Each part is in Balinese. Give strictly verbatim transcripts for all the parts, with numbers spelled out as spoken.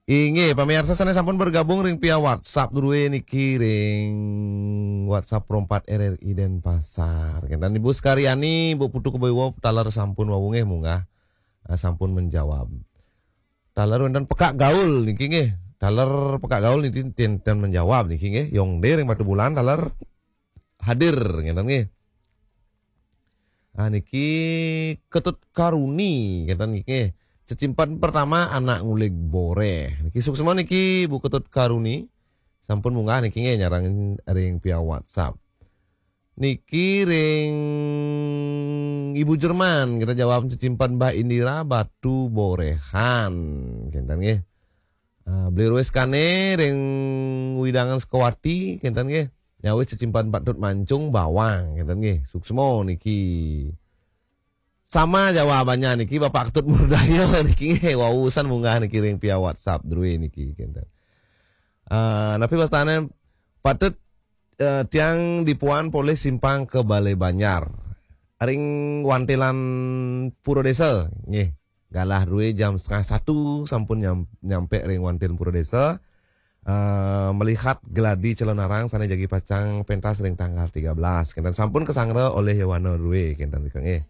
Inggih, pamiarsa sané sampun bergabung ring via WhatsApp drué niki ring WhatsApp Pro empat R R I Denpasar. Kénten Ibu Sekaryani, Bu Putu Kebaiwa, taler sampun wau nggih munggah, eh, sampun menjawab. Taler wénten Pekak Gaul niki nggih. Taler Pekak Gaul niki ten, ten menjawab niki nggih. Yongde ring Batubulan taler hadir ngénten nggih. Ah, niki Ketut Karuni ngénten niki. Cecimpedan pertama anak ngulig boréh. Niki suksma niki Bu Ketut Karuni. Sampun munggah niki nggih nyarengin ring via WhatsApp. Niki ring Ibu Jerman, kita jawab cecimpedan Mbah Indira Batu Boréhan. Kénten nggih. Ah, Beli Ruwis Kane ring Widangan Sukawati, kénten nggih. Nyawis cecimpedan Pak Tut Mancung Bawang, kénten nggih. Suksma niki. Sama jawabannya niki Bapak Ketut Murdaya niki nggih. Wau usan munggah niki ring via WhatsApp drué niki, kénten. Ah, napi wastané patut, eh, tiang dipuan polih Simpang ke Balai Banjar. Ring wantilan Pura Desa nggih. Galah drué jam setengah satu sampun nyam, nyampe ring wantilan Pura Desa. Eh, melihat geladi Calonarang sané jagi pacang pentas ring tanggal tiga belas. Kénten sampun kasanggra olih Yowana drué kénten nika nggih.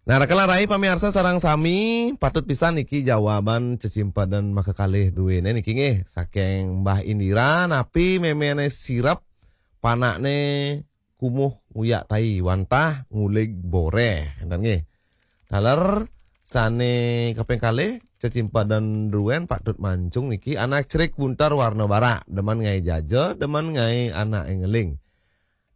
Nah, raka rai pamiarsa sareng sami, patut pisan niki jawaban cecimpedan makakalih druéné niki nggih. Saking Mbah Indira, napi méméné sirep, panakné kumuh nguyak tai wantah ngulig boréh. Kénten nggih. Taler sané kaping kalih, cecimpedan druén Pak Tut Mancung niki anak cerik buntar warna barak, demen ngaé jaja, demen ngaé anaké ngeling.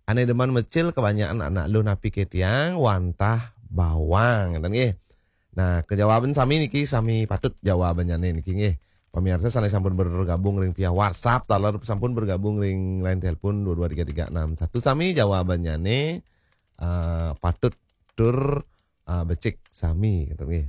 Ané demen mecil kebanyakan anak luh napi ké tiang wantah bawang, kénten nggih. Nah, kejawaban sami niki sami patut jawabannya niki nggih. Pamiarsa sané sampun bergabung ring via WhatsApp, taler sampun bergabung ring line telepon dua dua tiga tiga enam satu sami jawabannya nih, eh, patut tur, eh, becik sami kénten nggih.